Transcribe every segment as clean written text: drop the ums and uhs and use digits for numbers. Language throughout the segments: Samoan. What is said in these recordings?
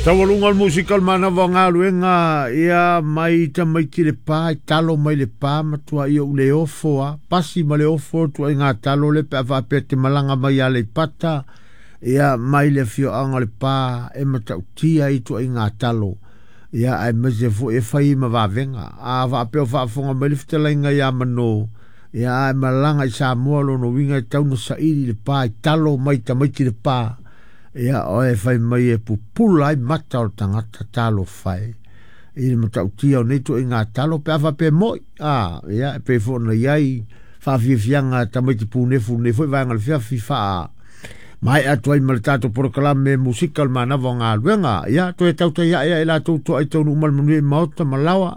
Taualuga o le musika o le manava o galuega ia mai tamaiti le pa i talo mai le pa matuai ou le ofo a pasi ma le ofo tuaiga talo le pe a faapea te malaga mai Aleipata ia mai le afioaga o le pa e matautia i tuaiga talo ia aemaise foi e fai ma vavega a faapea o faafofoga mai le fetalaiga ia Mano ia ae malaga i Samoa lona uiga e tau na saili le pa i talo mai tamaiti le pa ia oe fai mai e pupula ai mata o le tagata talofa e i le matautia o nei tuaiga talo pe a faapea moi a ia e pei foi ona i ai faafiafiaga tamaiti punefu nei foi vaega o le fiafi faa maea atu ai ma le tatou polokalame musika o le manava o galuega ia toe tautai ae ae latou toa i taunuu ma le manuia i maota ma laoa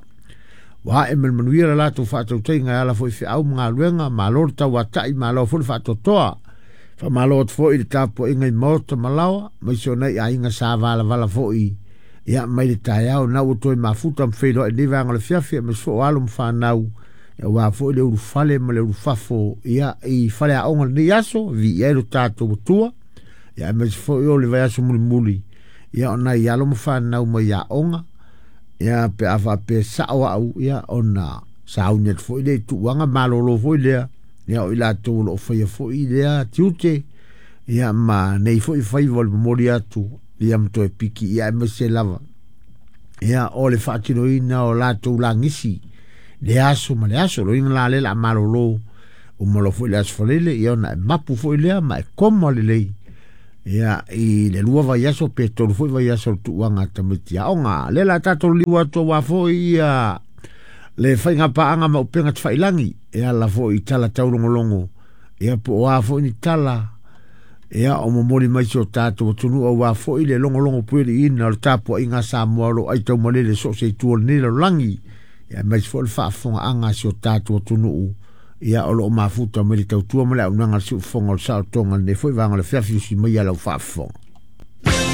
ua ae ma le manuia le latou faatautaiga e ala foi i feau ma galuega malo le tauatai malo foi le faatoatoa. Faamalo atu foi i le tapuaiga i maota ma laoa, maise o nai aiga sa valavala foi ia mai le taeao na ua toe mafuta ma feiloai lenei vaega o le fiafi aemaise foi o alo ma fanau aua foi le ulufale ma le ulufafo ia i faleaoga lenei aso viia ai lo tatou Atua ia aemaise foi o le vaiaso mulimuli ia o nai alo ma fanau mai aoga ia pe a faapea sao au ia ona sauni atu foi lea i tuuaga malolo foi lea ia o i latou o lo o faia foi lea tiute ia ma nei foi faiva o le momoli atu ia ma toe piki ia aemaise lava ia o le faatinoina o latou lagisi le aso ma le aso loina la le la malolo uma loa foi le aso Faraile ia ona e mapu foi lea ma e koma lelei ia i le 2 vaiaso pe 3 foi vaiaso o le tuuaga a tamaiti aoga lea la tatou liu atu aua foi ia le faiga paaga ma upega tafailagi e ala foi i tala taulogologo ia po o a foi ni tala ia o momoli mai si o tatou atunuu aua foi le logologo pueliina o le tapuaiga a Samoa o lo o aitaumalele so o se itu o lenei lalolagi ia aemaise foi o le faafofogaaga a si o tatou atunuu ia o lo o mafuta mai le tautua ma le auaunaga a le siufofoga o le saolotoga lenei foi vaega o le afiafi usi mai ia lau faafofoga.